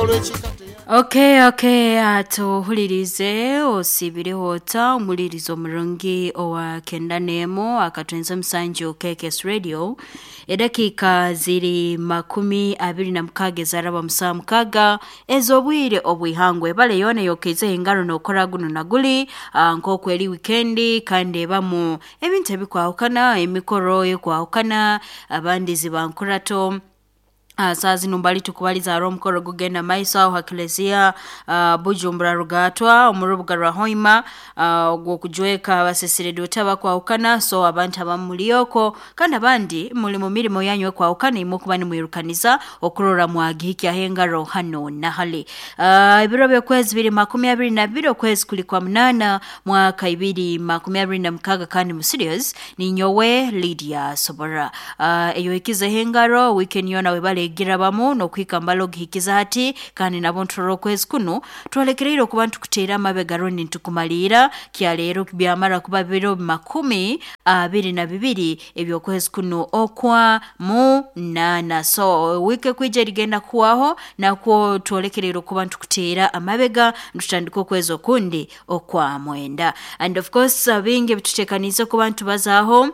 Olw'ekika. Okay, atuhulirize osibireho ota omulirizo omurungi owa kenda n'emu akatwenza omusanju KKS Radio. Edakiika ziri 26 ezaraba musaa 6 ez'obwire obwihangwe. Ebale yoona eyokeizeho engaro n'okora guno na guli, nk'oku eri wikendi kandi ebamu ebintu ebikwahukana, emikoro ekwahukana, abandi ziba nkurato. Saa zinu mbali tukubaliza hariho omukoro gugenda maiso aho ha Klezia Bujumbura Rugatwa omu rubuga rwa Hoima, ogw'okujweka abasesiredoti abakwahukana. So abantu abamu muli okwo kandi abandi muli mu mirimo yanyu ekwahukana, imwe okuba nimwirukaniza okurora mwagihikyaho engaro hano na hali. Ebiro by'okwezi biri 22, okwezi kuli kwa 8, mwaka 2026, kandi mu studios ninyowe Lydia Sobora. Eyohikizeho engaro weekend yoona webale egirabamu n'okuhika mbali ogihikiza hati, kandi nabo nturora okwezi kunu twolekereire okuba ntukuteera amabega rundi ntukumaliira kyaleero byamara kuba biro 22 eby'okwezi kunu okwa 8. So wiiki ekwija erigenda kuhwaho nakwo twolekereire okuba ntukuteera amabega ntutandika okwezi okundi okwa 9. And of course bingi ebituteekaniize kuba ntubazaaho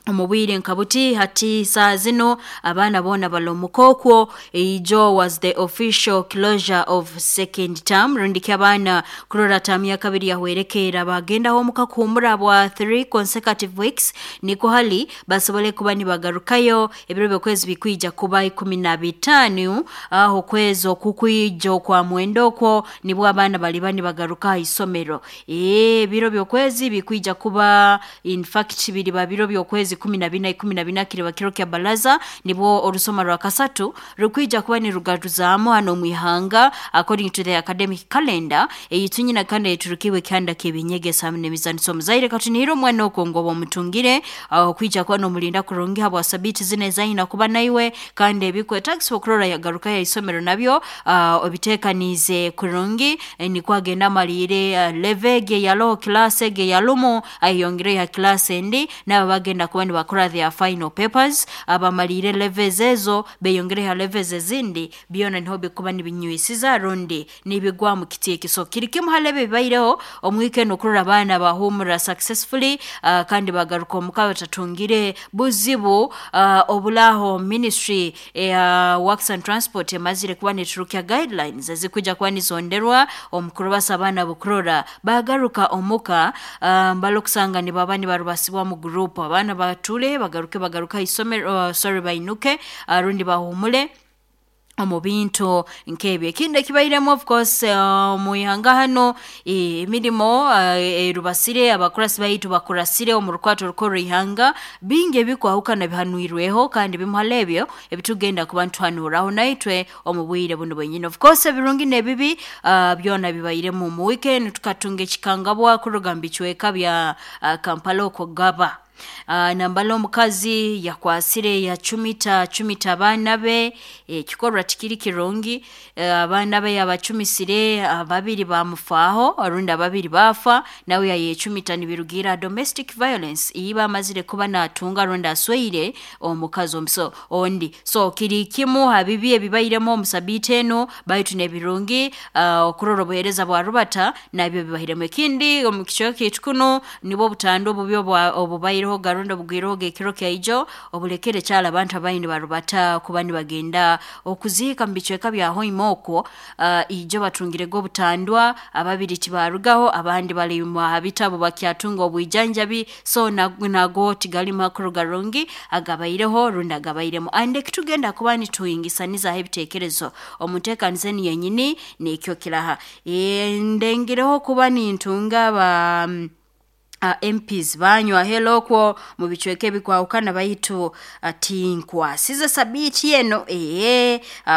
omu bwire nka buti. Hati saa zino abaana boona bali omuka okwo. Ijo was the official closure of second term, rundi ki abaana kurora taamu ya kabiri yahwerekeera bagendaho omuka kuhumura bwa 3 consecutive weeks, niko hali basobole kuba nibagarukayo ebiro by'okwezi bikwija kuba 15, aho okwezi okukwija okwa 9 okwo nibwo abaana baliba nibagaruka ha isomero. Ebiro by'okwezi bikwija kuba in fact biriba biro by'okwezi 14, 14 kiriba kiro kya baraza, nibwo orusoma rwa kasatu rukwija kuba nirugaruzaamu hano omu ihanga according to the academic calendar eyitunyina kandi eyeturukiibwe ekihanda ky'ebinyegesa hamu n'emizaniso. Omuzaire katunihire omwana okwo ngu oba omutungire okwija kuba n'omulinda kurungi habwa sabiiti zinu ezayina kuba naiwe, kandi ebikwetagisibwa okurora yagarukayo ha isomero nabyo obiteekaniize kurungi, nikwo agenda amaliire level egi eyaloho, kilaasi egi eyalumu, ayeyongereyo ha kilaasi endi, nabo bagenda kuba nibakora their final papers, abamaliire levels ezo beyongereyo ha levels ezindi, byona niho bikuba nibinywisiza rundi nibigwa mu kiti eki. So kiri kimu hali ebi ebibaireho omu wiiki enu okurora abaana bahumura successfully, kandi bagaruka omuka batatungire buzibu obulaho. Ministry eya Works and Transport emazire kuba neturukya guidelines ezikwija kuba nizonderwa omu kurubasa abaana bukurora bagaruka omuka, mbali okusanga nibaba nibarubasibwa mu group, abaana batule bagaruke bagaruke ha isomero, sorry, bainuke, rundi bahumule omu bintu nk'ebyo. Ekindi ekibairemu of course omu ihanga hano, emirimo erubasire, abakurasi baitu bakurasire omu rukwato rukuru ihanga, bingi ebikwahukana bihanwirweho, kandi bimu hali ebyo ebitugenda kuba nituhanuraho naitwe omu bwire bunu bwenyini. Of course ebirungi n'ebibi byona bibairemu omu weekend. Tukatunga ekikangabwa kuruga mu bicweka bya Kampala okwo Gaba. Nambala omukazi yakwasire yacumita cumita abaana be, ekikorwa tikiri kirungi. Abaana be yabacumisire, ababiri bamufaaho rundi ababiri baafa, nawe yayecumita nibirugiira domestic violence iba amazire kuba natunga rundi asweire omukazi omuso ondi. So kiri kimu ha bibi ebibairemu omu sabiiti enu, baitu n'ebirungi okurora obuheereza bwa rubata nabyo bibairemu. Ekindi omu kicweka kyaitu kunu nibwo obutandwa obubi obubaireho garundi obugwireho ekiro kyaijo obulekere kyali abantu abaine nibarubata kuba nibagenda okuziika mu bicweka bya Hoima okwo. Ijo batungirege obutandwa, ababiri tibarugaho, abandi bali ha bitabu bakyatunga obwijanjabi. So nago tigali makuru garungi agabaireho rundi agabairemu. And ekitugenda kuba nituhingisanizaho ebiteekerezo omu nteekaniza enu yenyini nikyo kiraha. Ndengireho kuba nintunga ba MPs banywa helo okwo mu bicweka ebikwahukana, baitu tinkwasize sabiiti eno,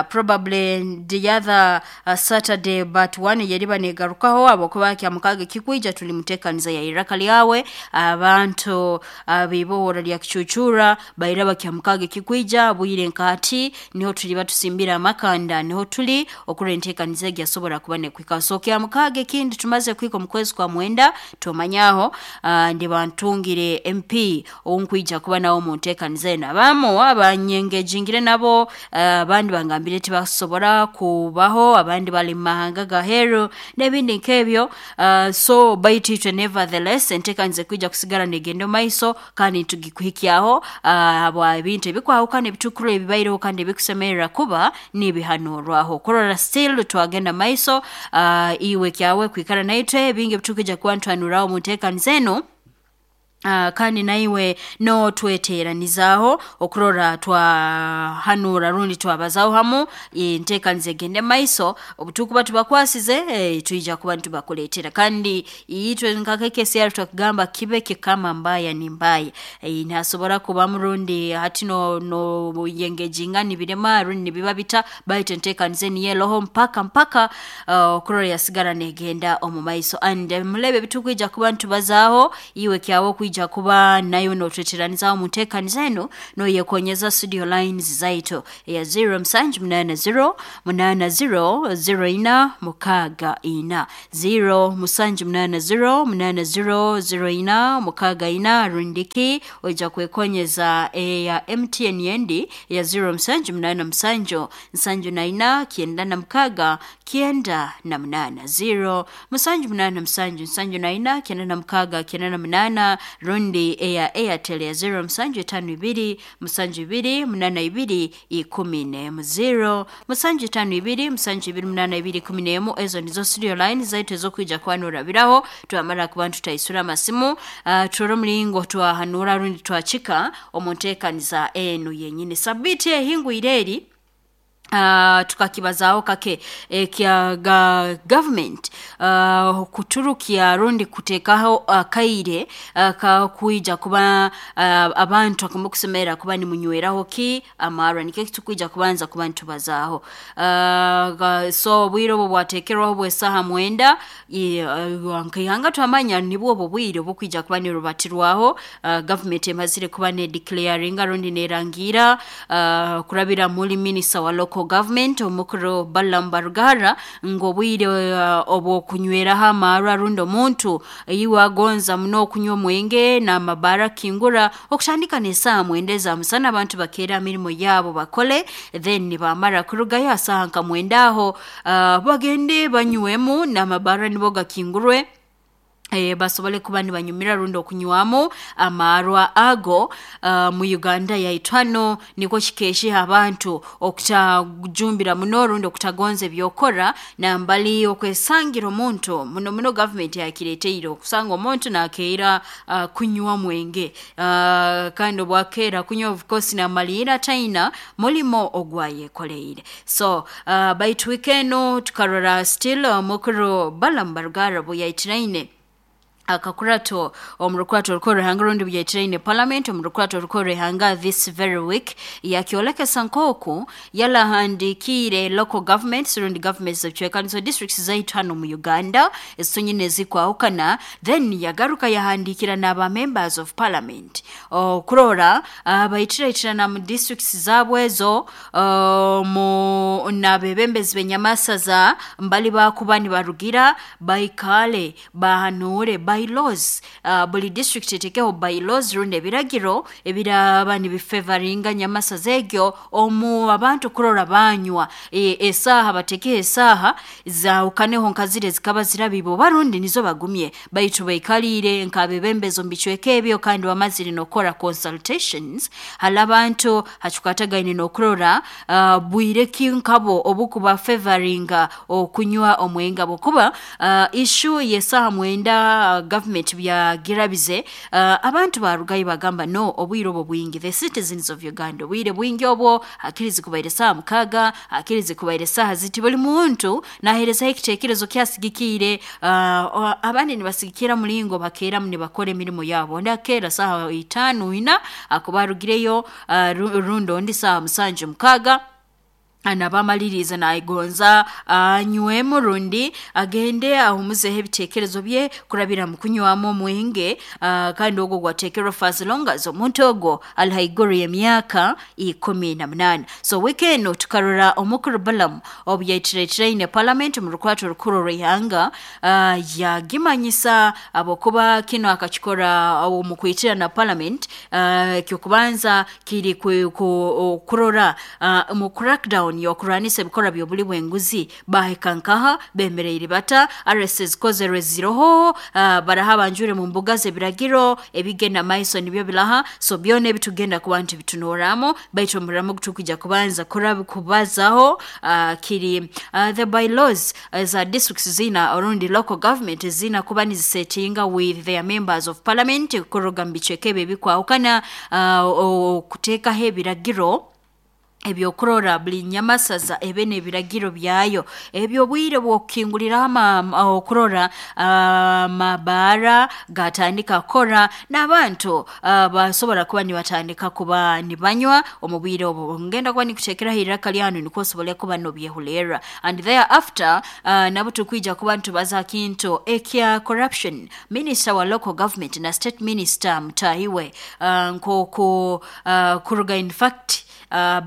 probably the other Saturday but one yeriba negarukaho, habwokuba kya mukaaga ekikwija tuli muteekaniza ya iraka lyawe. Abantu ab'ibohora lya Kicucura bairaba kya mukaaga ekikwija bwire nka hati niho tuliba tusimbire amakanda, niho tuli okurora enteekaniza egi yasobora kuba nekwika. So kya mukaaga ekindi tumaze kuhika omu kwezi kwa 9, tumanyaho. Ndiba ntungire MP owunkwija kuba nawe omu nteekaniza enu. Abamu abanyengejingire nabo, abandi bangambire tibakusobora kubaho, abandi bali mu mahanga gaheru n'ebindi nk'ebyo. So baitu itwe nevertheless enteekaniza ekwija kusigara negenda omu maiso kandi nitugikuhikyaho habwa ebintu ebikwahukana ebitukuru ebibaireho kandi ebikusemerera kuba nibihanurwaho. Kurora still twagenda maiso, iwe kyawe kwikara naitwe bingi ebitukwija kuba nituhanuraho omu nteekaniza enu. Kandi naiwe notweteranizaaho okurora twahanura rundi twabazaho hamu enteekaniza egende maiso. Obutukuba tubakwasize, twija kuba nitubakuleetera. Kandi itwe nka KKCR twakugamba kibe kikama mbaya ni mbaya, nihasobora kubamu rundi hati no no yengejinga nibirema rundi nibiba bita, baitu enteekaniza enu yeroho mpaka mpaka okurora yasigara negenda omu maiso. And mulebe ebitukwija kuba nitubazaaho, iwe kyawe okwija kuba nayo notweteranizaaho omu nteekaniza enu noyekonyeza studio lines zaitu eya 0780 80 04 64, 0780 80 04 64, rundiki oija kwekonyeza eya MTN yendi eya 0787 74 96 98, 0787 74 96 98, rundi eya Airtel ya 0752 72 82 11, 0752 72 82 11. Ezo nizo studio line zaitu ezokwija kwanurabiraho twamara kuba tutaisura amasimu, turore omuringo twahanura rundi twakika omu nteekaniza enu yenyini. Sabiti ehingwire eri, tukakibazaaho kake ekya government kuturukya rundi kuteekaho akaire kakwija kuba abantu akamukusemerera kuba nimunyweraho ki amarwa, nikyo kitukwija kubanza kuba nitubazaaho. So obwire obwo bwateekerwaho bw'esaaha 9, nkaihanga twamanya nibwo obwo bwire obukwija kuba nirubatirwaho. Government emazire kuba nedeclaringa rundi nerangira kurabira muri minister wa local government omukuru Balaam Barugara ngu obwire obw'okunyweraho amarwa rundi omuntu iwe agonza muno okunywa omwenge n'amabara kingura okutandika n'esaaha 9 eza musana, abantu bakeera mirimo yaabo bakole, then nibamara kurugayo asaaha nka 9 aho, bagende banywemu n'amabara nibo gakingurwe, basobole kuba nibanyumira rundi okunywamu amarwa ago. Mu Uganda yaitu hano nikwo kikeeshiha abantu okutajumbira muno rundi okutagonza ebyokora, nambali okwesangira omuntu muno muno government yakireteire okusanga omuntu nakeera kunywa mwenge, kandi obwakeera kunywa of course namaliira taina mulimo ogwayekoleire. So baitu wiiki enu tukarora still omukuru Balaam Barugara buyayitiraine akakurato omu rukurato orukuru ruhanga rundi buyayitiraine parliament omu rukurato orukuru ruhanga this very week, yakyolekesa nk'oku yalahandikiire local governments rundi governments z'ebicwekanizo districts zaitu hano mu Uganda ezitunyine ezikwahukana, then yagaruka yahandiikira n'aba members of parliament okurora bayitiraitirana mu districts zaabwe ezo, mu n'abebembezi b'enyamasaza mbali bakuba nibarugira baikale bahanure bylaws, buli district etekeho bylaws rundi ebiragiro ebiraba nibifevaringa nyamasaza egyo omu abantu kurora banywa esaaha, batekeho esaaha zahukaneho nka ziri ezikaba zirabiibwa oba rundi nizo bagumye, baitu baikaliire nk'abebembezi omu bicweka ebyo kandi bamazire n'okukora consultations hali abantu hakikwatagaine n'okurora bwire ki nkabo obukuba favoringa okunywa omwenge, habwokuba issue y'esaaha 9 government byagirabize, abantu barugayo bagamba no obwire obwo bwingi, the citizens of Uganda obwire bwingi obwo hakirizi kubaire saaha 6, hakirizi kubaire saaha ziti, buli muntu naheerezaho ekiteekerezo kyasigikiire. Abandi nibasigikira mulingo bakeeramu nibakora emirimo yaabo, ondi akeera saaha 5 4 akuba arugireyo, rundi ondi saaha 7 6. Naba amaliriza nagonza anywemu rundi agende ahumuzeho ebitekerezo bye kurabira mu kunywamu omwenge, kandi ogwo gwatekerwa for as long as omuntu ogwo ali haiguru y'emyaka 18. So wiiki enu tukarora omukuru Balaam obu yaitiretiraine parliament mu rukwato rukuru rw'ihanga, yagimanyisa habwokuba kinu akakikora omu kwitira na parliament. Ekyokubanza kiri kurora mu crackdown y'okurwanisa ebikorwa by'obuli bw'enguzi, bahika nkaha bemereire bata, arrests zikozerwe ziroho, baraha banjure mu mbuga z'ebiragiro ebigenda maiso nibyo biraha. So byona ebitugenda kuba nti bitunoramu, baitu omuramo gutukwijja kubanza kubazaho kiri the bylaws za districts zina orundi local government zina kuba nizisetinga with their members of parliament kuruga mu bicweka ebi ebikwahukana, okuteekaho ebiragiro ebyokurora buli nyamasaza ebe n'ebiragiro byayo ebyo obwire bw'okukinguliraho okurora amabaara gatandika kukora n'abantu basobora kuba nibatandika kuba nibanywa omu bwire obu. Ngenda kuba nikuteekeraho iraka lyanu nikwo osobole kuba nobyehulerra, and thereafter nabo tukwija kuba nitubaza ha kintu ekya corruption. Minister wa local government na state minister mutahi we, nk'oku kuruga in fact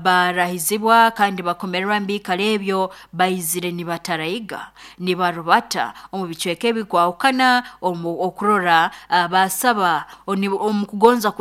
barahizibwa kandi bakomererwa mbiikaro ebyo, baizire nibatarayiga nibarubata omu bicweka ebikwahukana omu okurora basaba omu kugonza.